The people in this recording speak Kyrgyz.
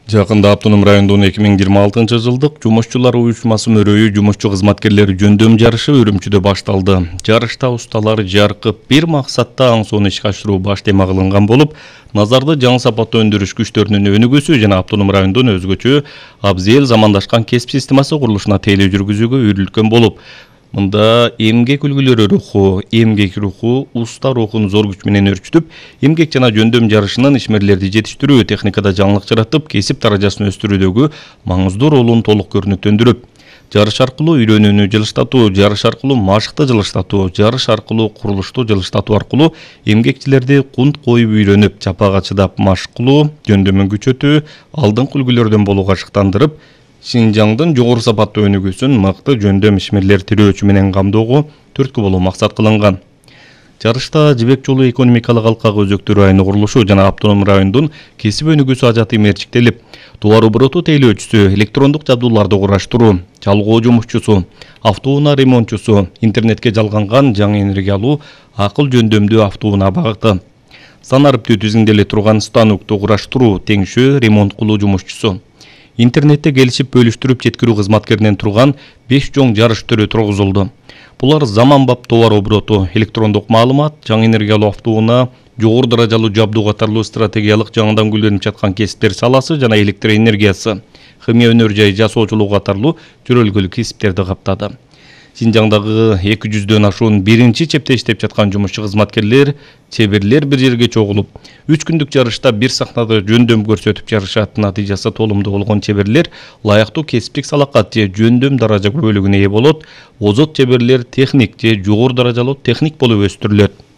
Жакында Автоном районунун 2026-жылдык жумушчулар уюшмасы мөрөйү жумушчу кызматкерлер жөндөм жарышы Үрүмчүдө башталды. Жарышта усталар жаркып бир максатта аң сонун ишке ашыруу баш тема кылынган болуп, назарды жаңы сапаттуу өндүрүш күчтөрүнүн өнүгүүсү жана Автоном районунун өзгөчө абзел замандашкан кесип системасы курулушуна тейлөө жүргүзүүгө үйрүлткөн болуп, мында эмгек үлгүлөрү руху, эмгек руху уста рухун зор күч менен өрчүтүп, эмгек жана жөндөм жарышынын ишмерлерди жетиштирүү, техникада жаңылык жаратып, кесип даражасын өстүрүүдөгү маңыздуу ролун толук көрүнүктөндүрүп, жарыш аркылуу үйрөнүүнү жылыштатуу, жарыш аркылуу машыкты жылыштатуу, жарыш аркылуу курулушту жылыштатуу аркылуу эмгекчилерди кунт коюп үйрөнүп, чапага чыдап машык кылуу, жөндөмүн күчөтүү, алдыңкы үлгүлөрдөн болууга шыктандырып, Шинжаңдын жогору сапаттуу өнүгүүсүн мыкты жөндөм ишмерлер тирөөчү менен камдоого түрткү болуу максат кылынган. Жарышта Жибек жолу экономикалык алкагы өзөктөрү айыны курулушу жана Автоном районунун кесип өнүгүүсү ажаты мерчиктелип, товар обороту тейлөөчүсү, электрондук жабдууларды кураштыруу, чалгуу жумушчусу, автоунаа ремонтчусу, интернетке жалганган жаңы энергия алуу, акыл жөндөмдүү автоунаа багыты, сан арыптуу тизиңделе турган станокту кураштыруу, теңшөө ремонт кылуу жумушчусу. Интернетте келишип бөлүштүрүп жеткирүү кызматкеринен турган 5 жоң жарыш төрө тургузулду. Булар заманбап товар обороту, электрондук маалымат, жаңы энергиялуу автоунаа, жогору даражалуу жабдуу катарлуу стратегиялык жаңыдан гүлдөнүп жаткан кесиптер саласы жана электр энергиясы, химия өнөр жай жасоочулук катарлуу жөрөлгөлүк кесиптерди каптады. Шинжаңдагы 200дөн ашуун биринчи чепте иштеп жаткан жумушчу кызматкерлер, чеберлер бир жерге чогулуп, 3 күндүк жарышта бир сахнада жөндөм көрсөтүп жарышат. Натыйжасы толумдуу болгон чеберлер лайыктуу кесиптик салакат же жөндөм даража бөлүгүнө ээ болот. Озот чеберлер техник же жогору даражалуу техник болуп өстүрүлөт.